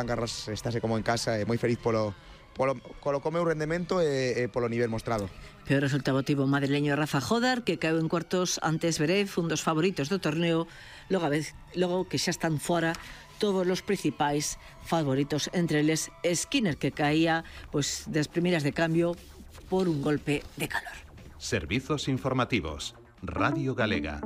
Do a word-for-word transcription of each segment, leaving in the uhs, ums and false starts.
Garras estáse como en casa, e moi feliz polo, polo, polo como o rendemento e, e polo nivel mostrado. Peor resultado tivo o madrileño Rafa Jodar, que caeu en cuartos ante Zverev, un dos favoritos do torneo, logo, a vez, logo que xa están fora todos os principais favoritos, entre eles Skinner, que caía pois, das primeiras de cambio por un golpe de calor. Servizos informativos, Radio Galega.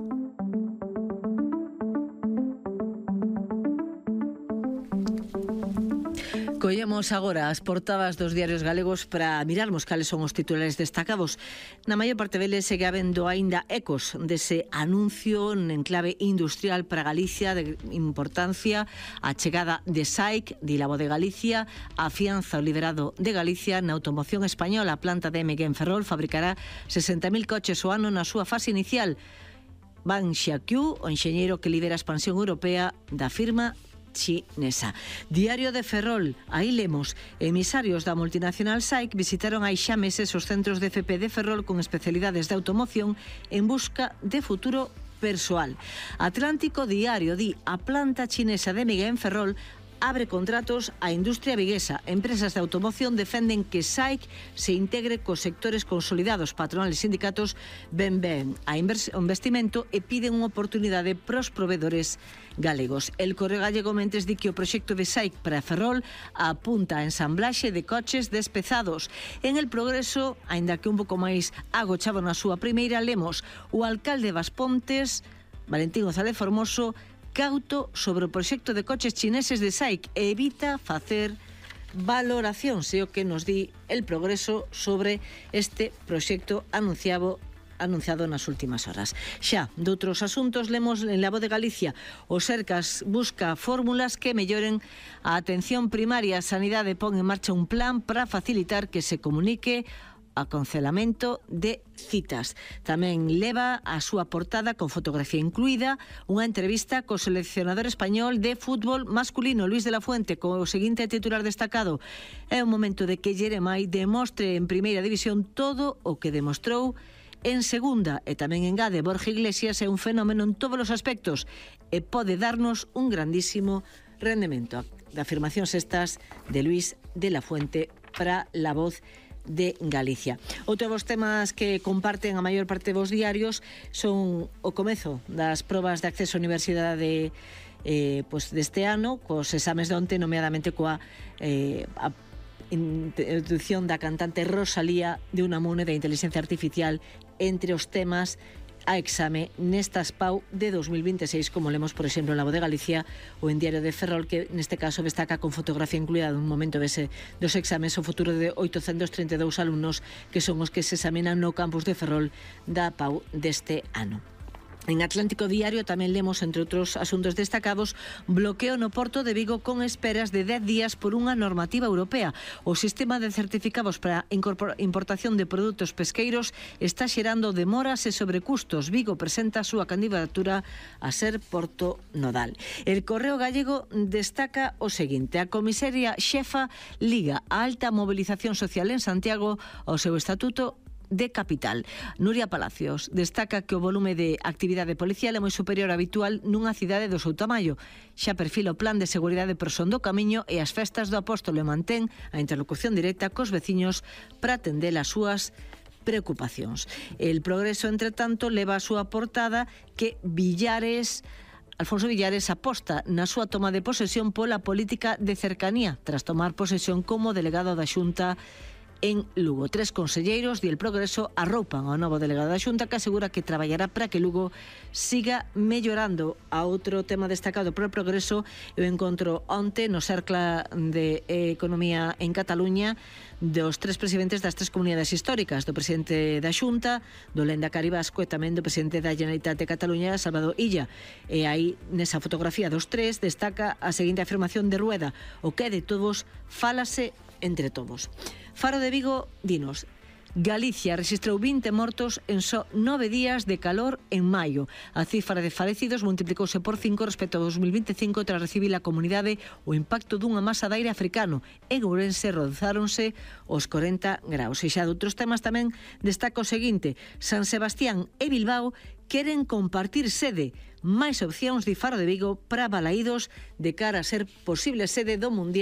Collemos agora as portadas dos diarios galegos para mirarmos cales son os titulares destacados. Na maior parte deles segue habendo aínda ecos dese anuncio en clave industrial para Galicia de importancia, a chegada de S A I C, di la Voz de Galicia, afianza o liderado de Galicia na automoción española. A planta de M G en Ferrol fabricará sesenta mil coches o ano na súa fase inicial. Ban Xiaqiu, o enxeñeiro que lidera a expansión europea da firma chinesa. Diario de Ferrol, aí lemos: emisarios da multinacional S A I C visitaron hai xa meses os centros de F P de Ferrol con especialidades de automoción en busca de futuro persoal. Atlántico Diario di: a planta chinesa de Miguel en Ferrol abre contratos á industria viguesa. Empresas de automoción defenden que S A I C se integre cos sectores consolidados. Patronales e sindicatos ven ben a investimento e piden unha oportunidade pros provedores galegos. El Correo Gallego mentes di que o proxecto de S A I C para Ferrol apunta a ensamblaxe de coches despezados. En El Progreso, aínda que un pouco máis agochado na súa primeira, lemos: o alcalde de Baspontes, Valentín González Formoso, cauto sobre o proxecto de coches chineses de S A I C e evita facer valoración, se o que nos di El Progreso sobre este proxecto anunciado anunciado nas últimas horas. Xa, doutros asuntos, lemos en La Voz de Galicia: o Sercas busca fórmulas que melloren a atención primaria. A Sanidade pon en marcha un plan para facilitar que se comunique a cancelamento de citas. Tamén leva a súa portada, con fotografía incluída, unha entrevista co seleccionador español de fútbol masculino, Luis de la Fuente, co seguinte titular destacado: é o momento de que Jeremai demostre en primeira división todo o que demostrou en segunda. E tamén engade: Borja Iglesias é un fenómeno en todos os aspectos e pode darnos un grandísimo rendemento. De afirmacións estas de Luis de la Fuente para La Voz de Galicia. Outro dos temas que comparten a maior parte dos diarios son o comezo das probas de acceso á universidade eh, pues deste ano, cos exames de onte, nomeadamente coa eh, a introducción da cantante Rosalía de Unamuno da inteligencia artificial entre os temas a exame nestas Pau de dos mil veintiséis, como lemos, por exemplo, en La Voz de Galicia ou en Diario de Ferrol, que neste caso destaca con fotografía incluída dun momento dese, dos exames o futuro de oitocentos trinta e dous alumnos que son os que se examinan no campus de Ferrol da Pau deste ano. En Atlántico Diario tamén lemos, entre outros asuntos destacados, bloqueo no Porto de Vigo con esperas de dez días por unha normativa europea. O sistema de certificados para importación de produtos pesqueiros está xerando demoras e sobrecustos. Vigo presenta a súa candidatura a ser Porto Nodal. El Correo Gallego destaca o seguinte: a comisaria xefa liga a alta movilización social en Santiago ao seu estatuto de capital. Nuria Palacios destaca que o volume de actividade policial é moi superior ao habitual nunha cidade do seu tamaño. Xa perfila o plan de seguridade por son do camiño e as festas do Apóstolo e mantén a interlocución directa cos veciños para atender as súas preocupacións. El Progreso, entre tanto, leva a súa portada que Villares Alfonso Villares aposta na súa toma de posesión pola política de cercanía tras tomar posesión como delegado da Xunta en Lugo. Tres conselleiros del Progreso arroupan ao novo delegado da Xunta, que asegura que traballará para que Lugo siga mellorando. A outro tema destacado por el Progreso é o encontro onte no Cercla de Economía en Cataluña dos tres presidentes das tres comunidades históricas, do presidente da Xunta, do Lehendakari Vasco e tamén do presidente da Generalitat de Cataluña, Salvador Illa. E aí, nesa fotografía dos tres, destaca a seguinte afirmación de Rueda: o que é de todos, fálase entre todos. Faro de Vigo dinos: Galicia registrou vinte mortos en só nove días de calor en maio. A cifra de falecidos multiplicouse por cinco respecto a dos mil veinticinco tras recibir a comunidade o impacto dunha masa de aire africano. En Ourense rozáronse os corenta graus. E xa de outros temas tamén destaca o seguinte: San Sebastián e Bilbao queren compartir sede. Máis opcións de Faro de Vigo para Balaídos de cara a ser posible sede do Mundial